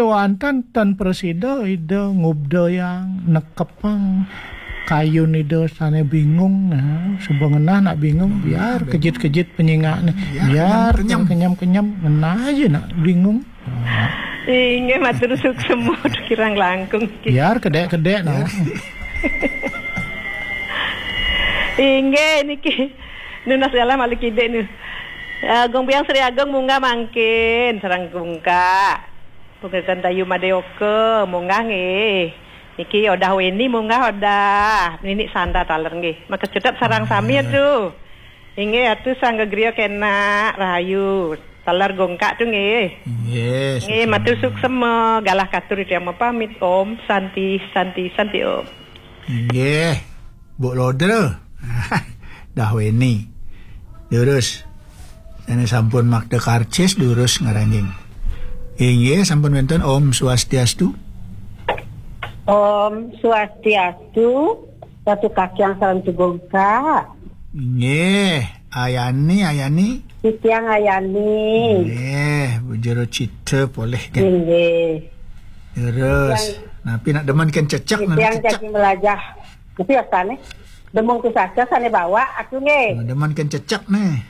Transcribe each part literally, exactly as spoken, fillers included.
Wénten ten prasida Ida ngubdayang nekepang kayun Ida sané bingung. Nah, suba ngenah nak bingung, biar kejit-kejit penyingakné. Biar kenyem-kenyem. Kenyem-kenyem, ngenah aja nak bingung. Inggih, matur suksma kirang langkung. Biar kedék-kedék, nah. Inggih, niki. Nunas galah malih kidik nu. Agung Biang Sri Agung munggah mangkin, sareng Gungkak. Pungkasan Dayu Madeoka, munggah nggih. Niki Odah Weni munggah Odah. Nini sanda taler nggih. Makecedhep sareng sami atu. Inggih atu Sang Gegriya Kenak Rahayu. Taler Gungkak tu nggih. Inggih, nggih, matur suksma. Galah katur titiang mapamit. Om Santi, Santi, Santi Om. Inggih, Bu Lodra. Dah Weni. Durus. Sané sampun makta karcis durus ngranjing. Inggih, sampun wénten. Om Swastiastu. Om Swastiastu. Ratu Kakyang sareng Gungkak. Inggih, Ayani, Ayani. Titiang Ayani. Inggih, Bu Jero Cita polih kan. Inggih. Terus, napi nak demen kan cecek, nak titiang cecek. Jadi melajah. Tapi asané demung pusaka sané bawa aku nggih. Nah, demen kan cecek nih.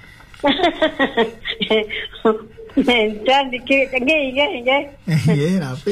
Nénten dikit nggih, nggih, nggih. Nggih, napi?